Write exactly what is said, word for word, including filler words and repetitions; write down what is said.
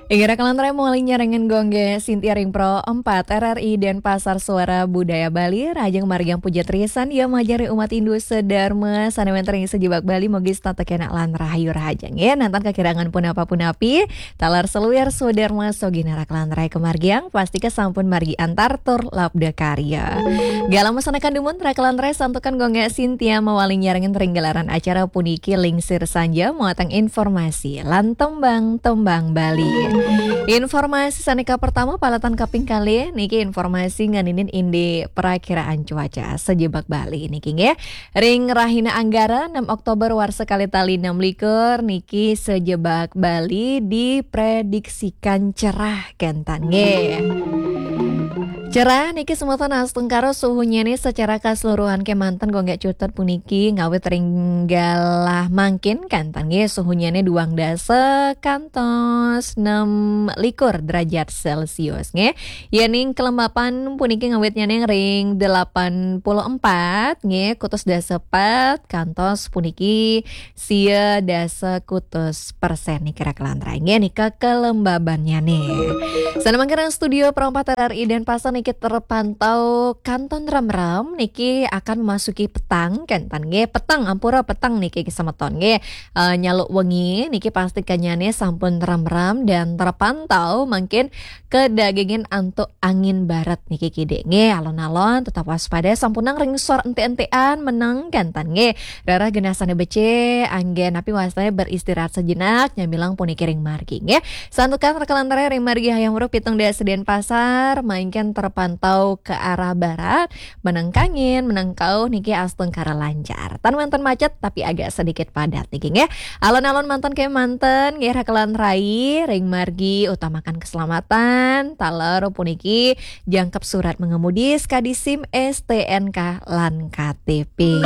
Inggih raka lan rai, mawali nyarengin gongge Sintia ring Pro empat R R I Denpasar, Suara Budaya Bali. Rahajeng margiang puja trisandia majeng ring umat Hindu sedharma sane wenten ring sajebag Bali, mugi setata kenak lan rahayu rahajeng. Nggih, nenten kakirangan punapa-punapi, taler saluir swadharma sogina raka lan rai kamargiang, pastika sampun margi antar tur labda karya. Galah masandekan dumun raka lan rai, santukan gongge Sintia mawali nyarengin ring gelaran acara puniki lingsir sanja mawatang informasi lan tembang-tembang Bali. Informasi sane kapertama, paletan kaping kalih niki informasi ngeninin indik perakiraan cuaca sajebag Bali niki nggih. Ring rahina Anggara enam Oktober warsa kalih tali enam likur niki sajebag Bali diprediksikan cerah kenten nggih. Cerah niki semeton astungkara suhunyane secara keseluruhan kemanten gongge cutet puniki ngawit ring galah mangkin kenten nggih, suhunyane duang dasa kantos enam likur derajat Celcius nggih. Yening kelembapan puniki ngawitnyane ring delapan puluh empat nggih, kutus dasa pat kantos puniki sia dasa kutus persen niki raka lan rai nggih, nika kelembabannyane. Sane mangkin ring studio Pro empat R R I Denpasar niki terpantau kanton remrem niki akan memasuki petang kenten nggih, peteng, ampura, peteng niki semeton nggih. Eh, nyaluk wengi niki pastikannyane sampun remrem dan terpantau mangkin kedagingin antuk angin barat niki kidik nggih. Alon-alon tetap waspada, sampunang ring sor entik-entikan meneng kenten nggih. Rereh genah sane becik, anggen napi wastane beristirahat sejenak, nyamilang puniki ring margi nggih. Santukan raka lan rai, ring margi Hayam Wuruk pitung dasa Denpasar, mangkin terpantau ke arah barat, meneng kangin, meneng kauh niki astungkara lancar. Tan wenten macet tapi agak sedikit padat niki nggih. Alon-alon manten kemanten nggih raka lan rai, ring margi utamakan keselamatan, taler puniki jangkep surat mengemudi, skadi SIM, STNK lan KTP.